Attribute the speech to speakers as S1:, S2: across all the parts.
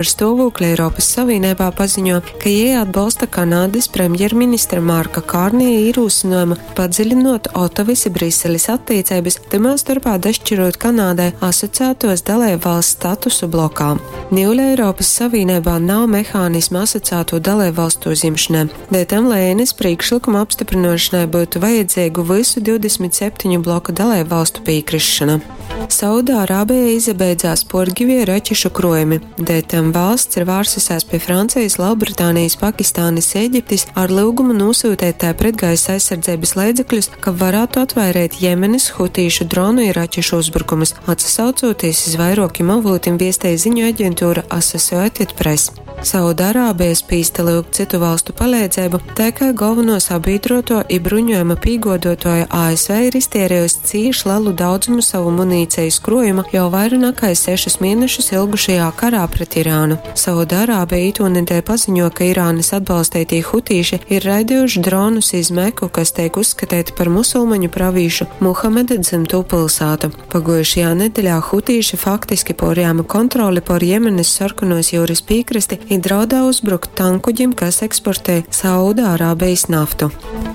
S1: Par stuovūkli Eiropys Savīneibā paziņo, ka jei atbolsta Kanadys premjerministra Marka Kārnija īrūsynuojumu padziļinuot Otavys i Briselis attīceibys, tymā storpā daškirūt Kanādai asociātuos daleibvalsts statusu blokā. Niule Eiropys Savīneibā nav mehānisma asociātū daleibvalstu uzjimšonai, deļtam Lēnis prīkšlykuma apstyprynuošonai byutu vajadzeigu vysu 27 bloka daleibvalstu pīkrisšona. Saudārābeja izabeidzās puorgivie raķešu kruojumi, deļtam valsts ir vārsusēs pi Francejis, Lelbritānijis, Pakistānis i Eģiptis ar lyugumu nūsyuteit tai pretgaisa aizsardzeibys leidzekļus, kab varātu atvaireit Jemenis hutīšu dronu i raķešu uzbrukumus, atsasaucūtīs iz vairuokim avūtim viestej ziņu aģentūra Associated Press. Saudarābeja spīsta lyugt cytu valstu paleidzeibu, tai kai golvonuo sabīdruotuo i bruņuojuma pīguoduotuoja ASV ir iztieriejusi cīš lelu daudzumu sovu munīcejis kruojuma jau vaira nakai sešus mienešus ilgušajā karā pret Irānu. Saudarābeja itūnedeļ paziņuo, ka Irānys atbalsteitī hutīši ir raidejuši dronus iz Meku, kas teik uzskateita par musulmaņu pravīšu Muhameda dzymtū pylsātu. Paguojušajā nedeļā hutīši faktiski puorjāma kontroli puor Jemenys Sorkonuos jiurys pīkrasti i draudā uzbrukt tankkuģim, kas eksportej Saudārābejis naftu.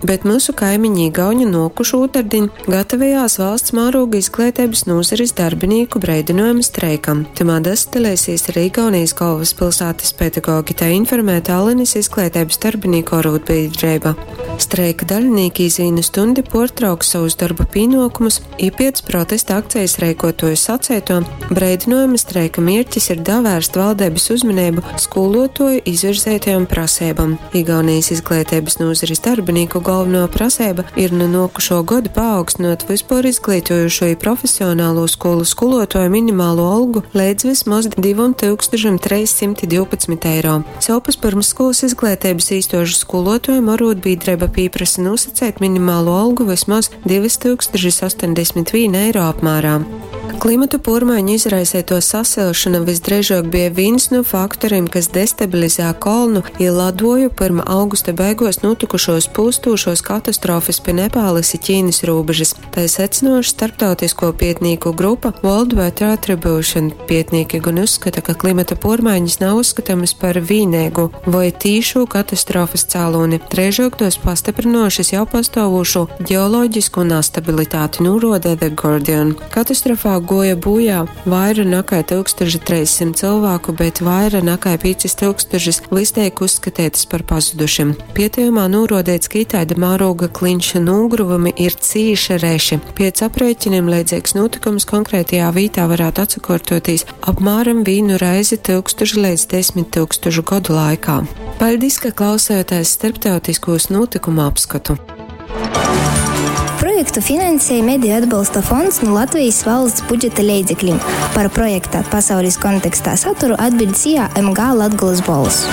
S1: Bet myusu kaimiņi igauņi nuokušu ūtardiņ gatavejās valsts mārūga izgleiteibys nūzaris darbinīku breidynojuma streikam. Tymā dasadaleisīs arī Igaunijas golvyspylsātys pedagogi, tai informē Tallinis izgleiteibys darbinīku orūdbīdreiba. Streika dalinīki iz vīnu stundi puortrauks sovus dorba pīnuokumus i piec protesta akcejis reikuotuoju saceituo, breidynuojuma streika mierķis ir davērst valdeibys uzmaneibu skūluotuoju izvirzeitajom praseibom. Igaunijas izgleiteibys nūzaris darbinīku golvonuo praseiba ir nu nuokušuo goda paaugstynuot vyspuorizgleitojušū i profesionalū skūlu skūluotuoju minimalū olgu leidz vysmoz 2312 eiro. Sovpus pyrmsskūlys izgleiteibys īstuožu skūluotuojim orūdbīdreiba pīprasa nūsaceit minimalū olgu vysmoz 2081 eiro apmērā. Klimata puormaiņu izraiseituo sasilšona vysdreižuok bie vīns nu faktorim, kas destabilizē kolnu i laduoju pyrma augusta beiguos nūtykušuos pūstūšuos katastrofys pi Nepālys i Ķīnys rūbežys, tai secynuojuši starptautiskuo pietnīku grupa World Weather Attribution. Pietnīki gon uzskata, ka klimata puormaiņas nav uzskatamys par vīneigū voi tīšū katastrofys cālūni, dreižuok tuos pastyprynuojušys jau pastuovūšū ģeoloģiskū nastabilitāti, nūruoda The Guardian. Katastrofā guoja būjā vaira nakai 1300 cylvāku, bet vaira nakai 5000 vys teik uzskateitys par pazudušim. Pietejumā nūruodeits, ka itaida mārūga kliņšu nūgruvumi ir cīši reši. Piec aprēķinim leidzeigs nūtykums konkrētajā vītā varātu atsakuortuotīs apmāram vīnu reizi tyukstušu leidz 10 000 godu laikā. Paļdis, ka klausējotēs starptautiskūs nūtykumu apskotu.
S2: Projektu finansēja Mediju atbalsta fonds nu Latvejis valsts budžeta leidzeklim. Par projekta Pasaulis kontekstā saturu atbiļd SIA MG Latgolys bolss.